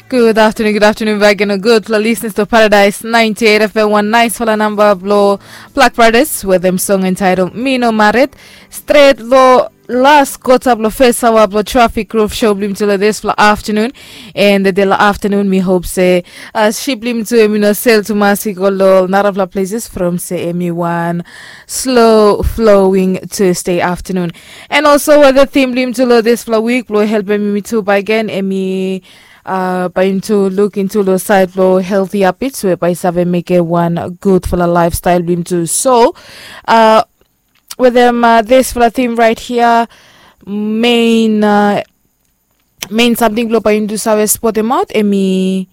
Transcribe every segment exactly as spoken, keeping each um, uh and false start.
Good afternoon, good afternoon back again. Good for listeners to Paradise ninety-eight F M, one nice for the number of Black Brothers with them song entitled Mino Maret. Straight lo last kota blo first hour blo Traffic Roof Show blo yumi tu lo this fla afternoon. And the day lo afternoon, mi hope se uh, ship blo yumi tu, yumi no sel tu masik o lo narafla places from se emi one slow flowing Tuesday afternoon. And also with the theme blo yumi tu lo this fla week blo help emi tu by again emi uh, by into look into lo side lo healthy habits we by save make a one good for the lifestyle blo yumi tu. So uh, with them uh, this fla theme right here, main uh, main something blo by into save spot them out emi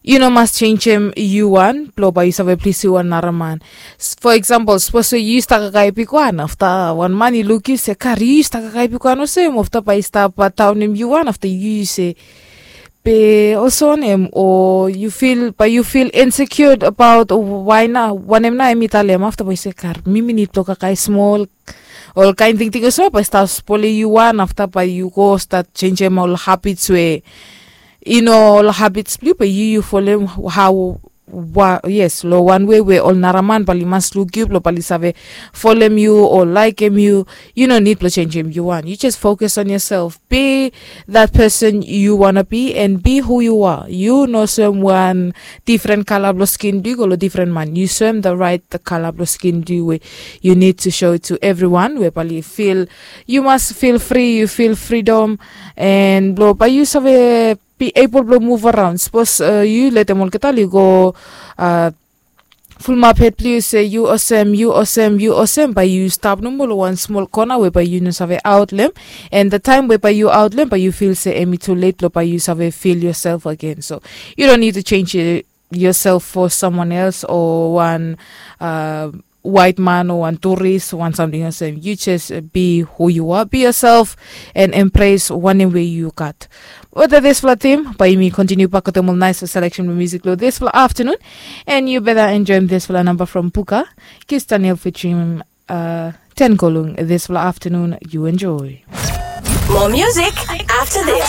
you no mas changem yu wan blo by yu save plis yu wan nara man. For example, suppose yu stap kakae pik wan afta wan man i luk yu se kari yu stap kakae pik wan olsem afta by stap taunem yu wan afta yu se be olsem wanem o yu fil by yu fil insecure about why na wanem na em i talem afta by se kar mi mi nid blo kakae smol. Ol kain tingting olsem by stap spole yu wan afta by yu go stap changem ol habits we i no ol habits blo yu by yu yu folem how wa yes lo wan wei we ol nara man bali mas luk yu blo bali save folem yu o laikem yu. You no need blo changem yu wan, you just focus on yourself. Be that person you wanna be and be who you are. You no soem wan different kala blo skin blo yu go lo different man, you soem the right kala blo skin blo yu we you need to show it to everyone we bali feel you mas feel free, you feel freedom. And blo by yu save be able blo move around suppose uh, yu letem olgeta li go uh, fulmap hed blo yu se yu olsem yu olsem yu olsem by yu stap nomo lo wan smol kona we by yu no save outlem. And the time we by yu outlem by yu fil se emi too late blo by yu save fil yourself again. So you don't need to change it yourself for someone else or one uh, white man or one tourist one something olsem. You just uh, be who you are, be yourself and embrace wanem we you got. With this fla team by me continue back with them nice selection of music lo this fla afternoon. And you better enjoy this fla number from Puka Kis Daniel featuring uh, Ten Kolung this fla afternoon. You enjoy. More music after this.